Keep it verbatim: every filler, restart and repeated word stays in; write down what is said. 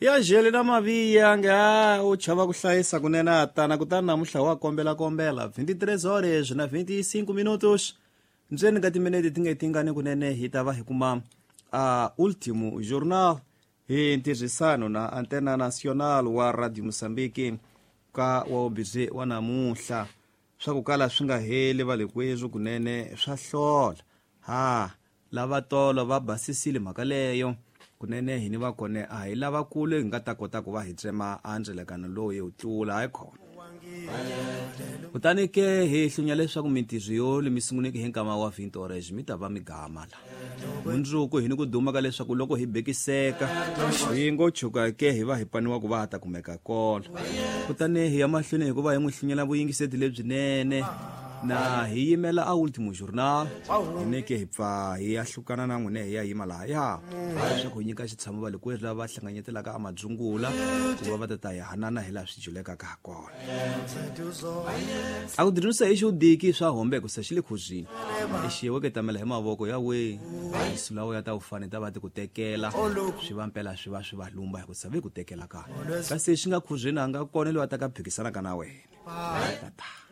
Ya jele na maviya nga u chava ku hlayisa kunene a tana kutani namuntlha wa kombela kombela vinte e três horas na vinte e cinco minutos ndzeni ka timinete ti nga tingani kunene hi ta va hi kuma a Último Jornal hi ntirhisano na Antena Nacional wa Radio Mozambique ka wa ubhizi wa namuntlha. Swa ku kala swi nga heli valekweswo kunene swa hlola ha lava tolo va basisile mhaka leyo kunene hi ni va kone a hi lavakulu hi nga ta kota ku va hi tsema andzelekano lowu hi wu tlula hayi khona. Kutani ke hi hlunya leswaku mintirho yo mi sunguleke hi nkama wa vinte horas mi ta va mi gama la mundzuku hi ni ku duma ka leswaku loko hi bekiseka hi ngo chuka ke hi va hi paniwa ku va ha ta kumeka kona. Kutani hi ya mahlweni hikuva hi n'wi hlunyela vuyingiseti lebyinene na hi yimela a Último Jornal hi neke hi pfa hi ya hlukana na n'wina hi ya yima lahaya leswaku hi nyika xitshamo va lekwerhu lava va hlanganyetelaka a madzungula ku va va ta ta hi hanana hi laha swi julekaka ha kona. A ku dirisa hi xodiki swa hombe ku se xi le khuzini i xiyeweketamela hi mavoko ya we sulawo ya ta u fane ta va ti ku tekela swi va mpela swi va swi va lumba hi ku sa ve ku tekela ka kasi xi nga khuzini a nga kona loyi a ta ka phikisanaka na wena tata.